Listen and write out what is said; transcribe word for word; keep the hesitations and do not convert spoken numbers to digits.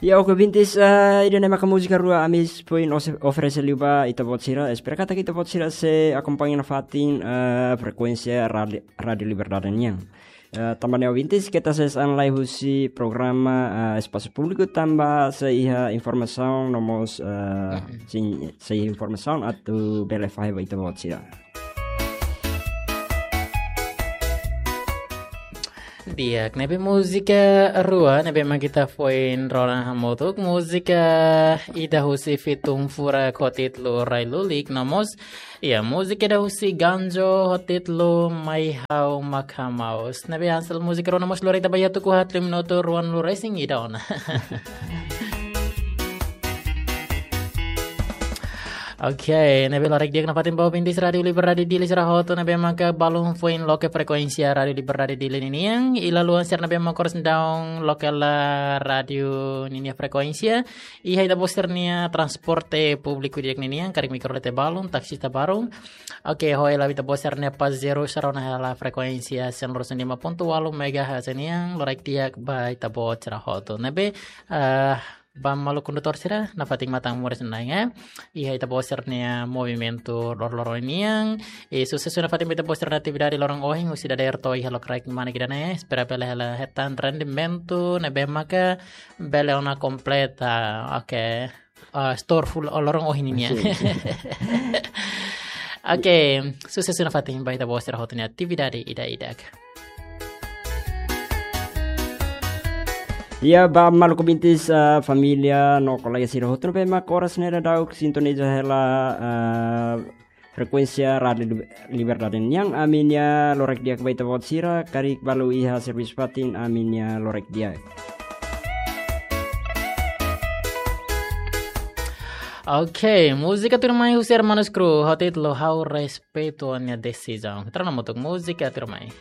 Ya, oke, ouvintes, eh, ida-ne'e maka múzika rua ami foin ose-, oferese liu ba ita-boot sira. Espera katak ita-boot sira sei akompaña nafatin, eh, frekuénsia Rádio, Rádio Liberdade nian. Eh, tanba ne'e ouvintes, keta ses an lai husi programa, eh, Espasu Públiku tanba sei iha informasaun no mós, eh, Mhm. sin, sei iha informasaun atu bele fahe ba ita-boot sira. Di'ak, ne'ebé múzika rua, ne'ebé mak ita foin rona hamutuk, múzika ida husi Fitun Furak ho títulu Rai Lulik, no mós, ya, múzika ida husi Ganjo ho títulu Mai Ha'u Mak Hamaus. Ne'ebé hanesan múzika rua no mós lori ita ba iha tuku haat liu minutu ruanulu resin ida ona. Oke, ne'ebé loraik di'ak nafatin ba ouvintes Rádio Liberdade Dili sira hotu ne'ebé maka balun foin loke frekuénsia Rádio Liberdade Dili ninian, i lalu hanesan ne'ebé maka oras daudaun loke hela rádiu ninia frekuénsia, iha ita-boot sira-nia transporte públiku di'ak ninian, karik mikro lete balun, taksi ta balun. Oke, ho hela ita-boot sira-nia pasajeiru sira rona hela frekuénsia cento lima ponto walu megahertz nian, loraik di'ak ba ita-boot sira hotu. Ne'ebé, eh, ba maluk kondutór sira, nafatin matan moris na'in, eh. Iha ita-boot sira-nia movimentu loroloron nian. I susesu nafatin ba ita-boot sira-nia atividade loron ohin, husi dadeer to'o iha lokraik manek ida-ne'e. Espera bele hela hetan rendimentu ne'ebé maka bele ona kompleta. Oke. Ah, store full loron ohin nian. Sin, sin. Oke, susesu nafatin ba ita-boot sira hotu nia atividade ida-idak. Ya, ba maluk ouvintes, ah, família no kolega sira hotu ne'ebé maka oras ne'e daudaun sintoniza hela, ah, frekuénsia Rádio Lib-, Liberdade nian, ami-nia loraik di'ak ba ita-boot sira, karik balu iha servisu fatin, ami-nia loraik di'ak. Oke, múzika tuirmai husi Hermanos Cruz, ho títulu Ha'u Respeitu Ó-nia Desizaun. Ita rona hamutuk múzika tuirmai.